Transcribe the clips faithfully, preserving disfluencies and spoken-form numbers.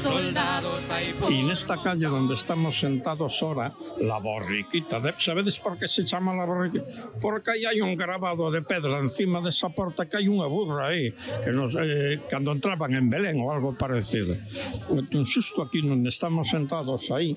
soldados hay por... Y nesta calle donde estamos sentados ahora, la borriquita, de... sabedes por que se chama la borriquita? Porque aí hai un grabado de pedra encima desa porta que hai unha burra aí, que nos, eh, cando entraban en Belén ou algo parecido. Entón, xusto aquí onde estamos sentados aí,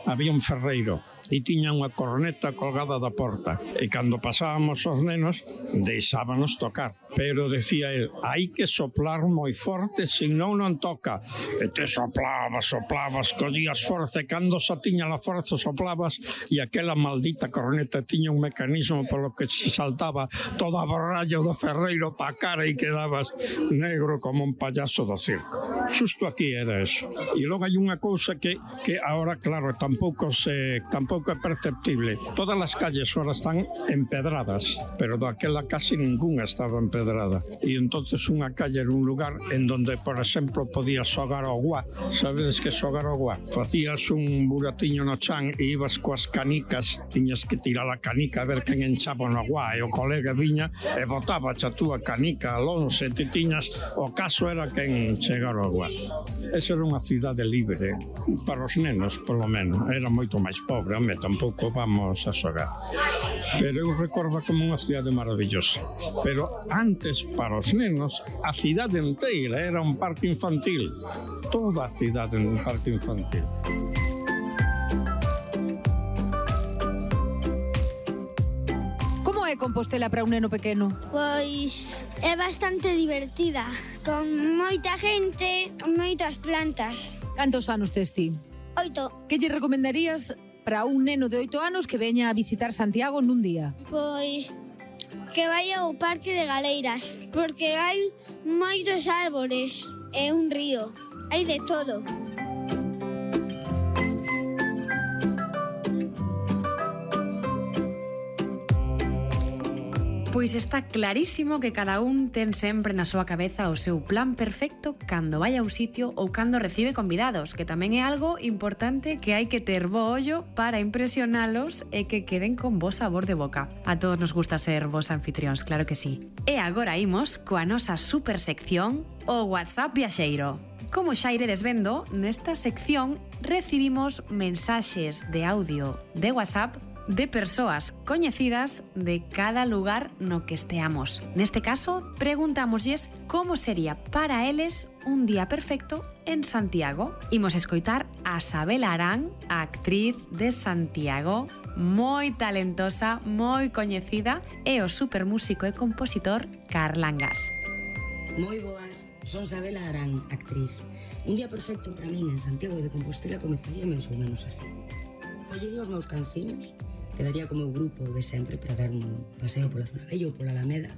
había un ferreiro e tiña unha corneta colgada da porta, e cando pasábamos os nenos deixábanos tocar, pero decía el, hai que soplar moi forte, senón non toca. E te soplavas, soplavas, collías forza, e cando xa tiña la forza soplavas, e aquela maldita corneta tiña un mecanismo polo que se saltaba toda a borralla do ferreiro pa cara e quedabas negro como un payaso do circo. Xusto aquí era eso. E logo hai unha cousa que, que ahora, claro, tampouco se tampouco é perceptible. Todas as calles ahora están empedradas, pero daquela casi ninguna estaba empedrada. E entonces unha calle era un lugar en donde, por exemplo, podías xogar ao guá. Sabedes que xogar ao guá? Facías un buratiño no chan e ibas coas canicas, tiñas que tirar a canica a ver quen enchaba no guá, e o colega viña e botaba a túa canica alonso, e ti tiñas, o caso era quen chegar ao guá. Esa era unha cidade libre para os nenos, polo menos. Era moito máis pobre, home, tampouco vamos a xogar. Pero eu recordo como unha cidade maravillosa. Pero antes, para os nenos, a cidade inteira era un parque infantil. Toda a cidade era un parque infantil. Como é Compostela para un neno pequeno? Pois é bastante divertida, con moita gente, moitas plantas. Cantos anos tes ti? Oito. Que lle recomendarías para un neno de oito anos que veña a visitar Santiago nun día? Pois que vaya ao Parque de Galeiras, porque hai moitos árbores e un río. Hai de todo. Pois está clarísimo que cada un ten sempre na súa cabeza o seu plan perfecto cando vai a un sitio ou cando recibe convidados, que tamén é algo importante que hai que ter bo ollo para impresionalos e que queden con bo sabor de boca. A todos nos gusta ser vos anfitrións, claro que sí. E agora imos coa nosa super sección, o WhatsApp Viaxeiro. Como xa iredes vendo, nesta sección recibimos mensaxes de audio de WhatsApp de persoas coñecidas de cada lugar no que esteamos. Neste caso, preguntámoslles como sería para eles un día perfecto en Santiago. Imos escoitar a Sabela Arán, a actriz de Santiago, moi talentosa, moi coñecida, e o supermúsico e compositor Carlangas. Moi boas, son Sabela Arán, actriz. Un día perfecto para min en Santiago de Compostela comezaría máis ou menos así. Collería os meus canciños, quedaría co meu grupo de sempre para dar un paseo pola zona bella ou pola Alameda,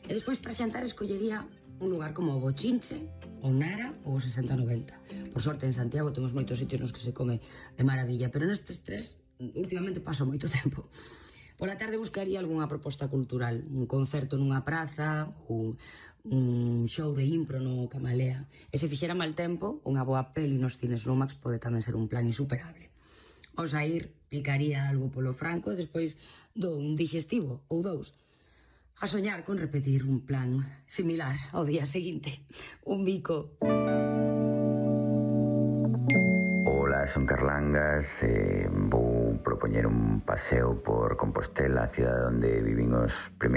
e despois para xantar escollería un lugar como o Bochinche, o Nara ou o sesenta noventa. Por sorte en Santiago temos moitos sitios nos que se come de maravilla, pero nestes tres últimamente paso moito tempo. Pola tarde buscaría algunha proposta cultural, un concerto nunha praza ou un show de impro no Camalea. E se fixera mal tempo, unha boa peli nos cines Lumax pode tamén ser un plan insuperable. Ao saír, picaría algo polo franco e despois do un digestivo ou dous. A soñar con repetir un plan similar ao día seguinte. Un bico. Ola, son Carlangas, eh, vou propoñer un paseo por Compostela, a cidade onde vivimos primeiros